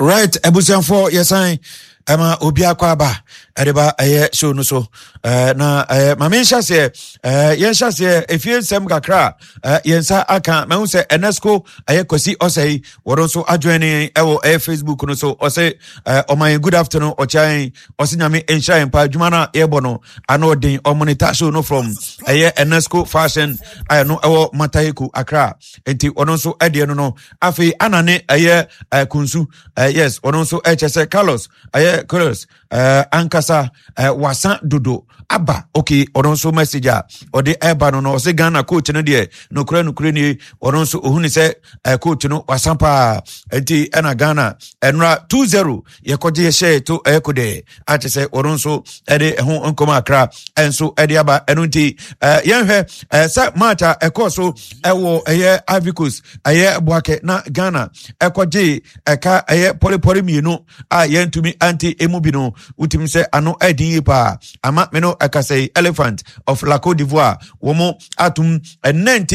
Right, abusuafoɔ, yɛsan ɛma obi akɔ aba ɛde ba ɛyɛ show no so na maame nhyɛ aseɛ, yɛnhyɛ aseɛ efie nsɛm kakra a yɛn nsa aka. Mahu sɛ ɛnɛsco ɛyɛ Kwasi ɔsɛe wɔn nso adwene ne ɛwɔ ɛyɛ Facebook no so. Ɔsɛ ɔma yɛn good afternoon, ɔkyɛ yɛn, ɔsɛ Nyame nhyira yɛn pa adwuma no a yɛbɔ no ano ɔden. Ɔmonita show no from ɛyɛ ɛnɛsco Fashion a ɛno ɛwɔ Mataheko, Accra. Nti ɔno nso ɛdeɛ no. Afei ana ne ɛyɛ kunsu, yes, ɔno nso ɛkyɛ sɛ Carlos, ɛyɛ Carlos ankasa wasa dodo aba. Okay, ɔno nso message a ɔde ɛba no, ɔsɛ Ghana coach no deɛ, nokorɛ nokorɛ nie, ɔno nso ohun sɛ coach no wasa paa. Nti ɛna Ghana ɛnora 2-0 yɛkɔgye yɛhyɛ to ɛyɛ kodɛ akyɛ sɛ ɔno nso ɛde ɛho nkɔmɔ akra ɛnso ɛde aba. Ɛno nti yɛnhwɛ sɛ match a ɛkɔɔ so ɛwɔ ɛyɛ Ivory Coast, ɛyɛ Boakɛ, na Ghana ɛkɔgye ɛka ɛyɛ pɔrepɔre 2 a yɛntumi ante emu bi no, wotumi sɛ ano ɛden yie paa ama me no. Ɛka sɛ Elephant of La Cote d'Ivoire wɔn atum 19